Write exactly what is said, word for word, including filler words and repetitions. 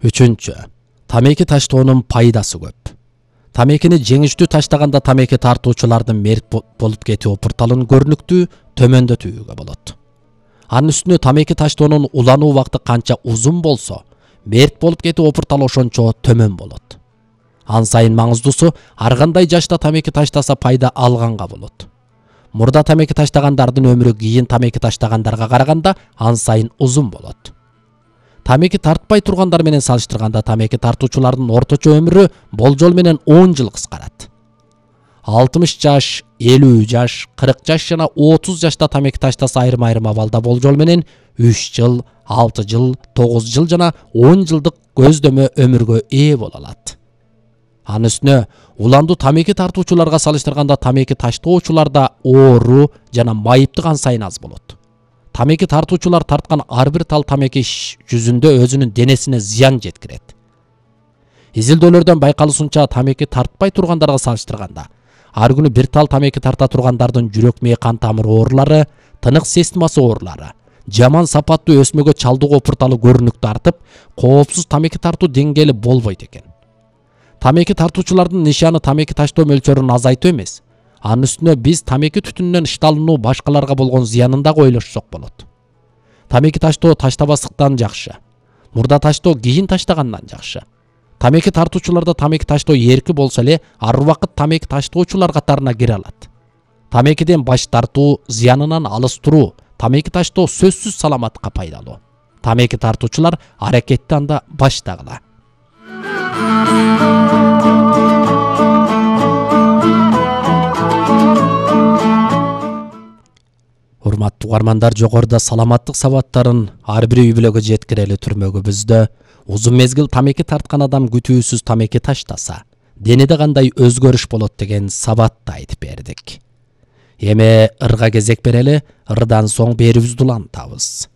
Үчүнчү. Тамеки таштоонун пайдасы көп. Тамекини жеңиштүү таштаганда тамеки тартуучулардын мерт болуп кетүү опурталын көрүнүктүү төмөндөтүүгө болот. Анын үстүнө тамеки таштоонун улануу убакыты канча узун болсо, мерт болуп кетүү опурталы ошончо төмөн болот. Ан сайын маңыздуусу, ар кандай жашта тамеки таштаса пайда алганга болот. Мурда тамеки таштагандардын өмүрү кийин тамеки таштагандарга караганда ан сайын узун болот. Тамеки тартпай тургандар менен салыштырганда тамеки тартуучулардын орточо өмүрү болжол менен он жыл кыскарат. алтымыш жаш, элүү жаш, кырк жаш жана отуз жашта тамеки таштаса айрым-айрым абалда болжол менен үч жыл, алты жыл, тогуз жыл жана он жылдык көздөмө өмүргө ээ боло алат. Анын үстүнө уландуу тамеки тартуучуларга салыштырганда тамеки таштоочуларда оору жана майыптык ан сайын аз болот. Тамеки тартуучулар тарткан ар бир тал тамеки жүзүндө өзүнүн денесине зыян жеткирет. Изилдөөлөрдөн байкалышынча тамеки тартпай тургандарга салыштырганда ар күнү бир тал тамеки тарта тургандардын жүрөк мээ кан тамыр оорулары, тынык системасы оорулары, жаман сапаттуу өсмөгө чалдыгуу опурталы көрүнүктүү артып, коопсуз тамеки тартуу деңгээли болбойт экен. Тамеки тартуучулардын нишаны тамеки таштоо мөлчөрүн азайтуу эмес. Анын үстүнө биз тамеки түтүнүнөн ышталынуу башкаларга болгон зыянын дагы ойлошсок болот. Тамеки таштоо таштабастыктан жакшы. Мурда таштоо кийин таштагандан жакшы. Тамеки тартуучуларда тамеки таштоо эрки болсо эле, ар убакыт тамеки таштоочулар катарына кире алат. Тамекиден баш тартуу, зыянынан алыс туруу, тамеки таштоо сөзсүз саламатка пайдалуу. Тамеки тартуучулар аракетти анда баштагыла. Урматтуу угармандар, жогоруда саламаттык сабаттарын ар бир үй бүлөгө жеткирели түрмөгүбүздө узун мезгил тамеки тарткан адам күтүүсүз тамеки таштаса, денеде кандай өзгөрүш болот деген сабатты айтып бердик. Эми ырга кезек берели, ырдан соң берүүбүздү улантабыз.